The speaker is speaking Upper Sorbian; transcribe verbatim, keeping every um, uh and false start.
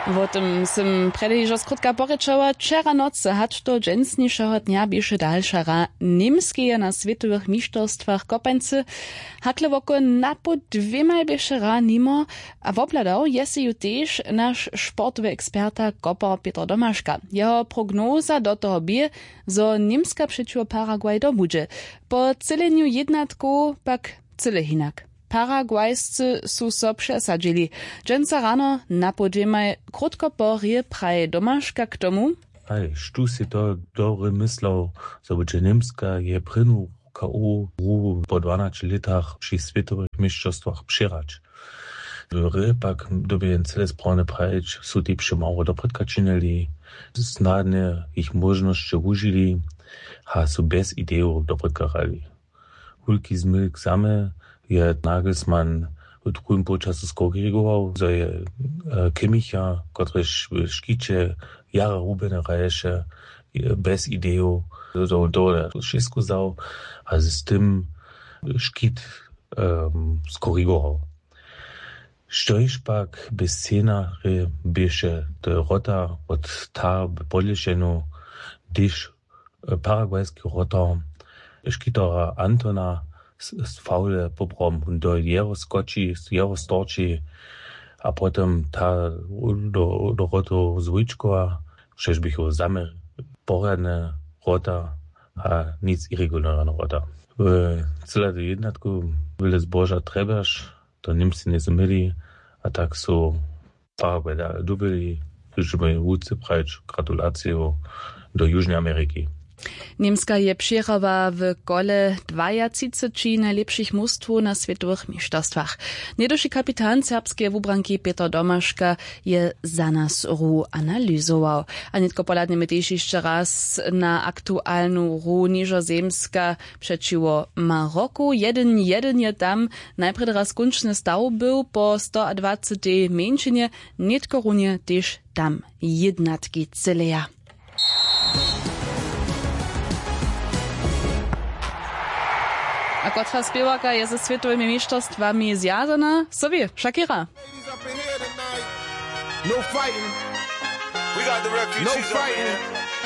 Wo tym sym prjedy hižo skrótka porěčała. Wčera nocy hač do dźensnišeho dnja běše dalša hra němskeje na swětowych mišterstwach kopańcy. Hakle woko napoł dwěmaj běše hra nimo. A wobhladał je sej ju tež naš sportowy eksperta kopar pětr domaška. Jeho prognoza do toho bě, zo němska přećiwo paraguay dobudźe. Po třělenju jědnatkow pak cyle hinak. Paraguayscy su so přesadźili. Dźensa rano napoł dwěmaj krótko po hrě praji domaška k tomu. Haj, štó sej to dobry myslał, zo budźe němska je prěnu k o hru po dwanaće lětach při swětowych měšćerstwach přěhrać. W hrě pak dyrbje jen cyle sprawne prajić, su tež přemało doprědka činili, snadnje jich móžnosće wužili a su bjez idejow doprědka hrali. Wulki zmylk samy je nagelsmann w druhim połčasu skorigował, zo je kimmicha, kotryž w škiće jara rubjene hraješe, bjez idejow, zo wón tohodla wšěsko wzał a z tym škit skorigował. Štož pak bě scenarje běše, to je wrota wot ta w podlěšenu, hdyž paraguayski wrotar škitera antona z fawle poprawom do jeho skoči, z jeho storči a potom ta do wrotow zwójčkowa, štož běchu zaměr porjadne wrota a nic irregularne wrota. W cyladu jednatku wjele zboža trjebaš, to němscy njejsu měli. A tak su paraguay dale dubili. Chcemy wótře prajić gratulaciju do južnej ameriki. Němska je přěhrała w kole dwajatřiceći najlěpšich mustwow na swětowych měšćerstwach. Něhdyši kapitan serbskeje wubranki pětr domaška je za nas hru analyzował. A nětko pohladnjemy tež hišće raz na aktualnu hru nižozemska přećiwo maroku. Jedyn jedyn je tam najprjedy raz kónčny staw był po stoadwacetej mjeńšinje. Nětko runje tež tam jědnatki cyleja. A kotra spěwarka je ze swětowymi měšćerstwami zwjazana? Sobi šakira. No fighting. We got the refugees. No fighting.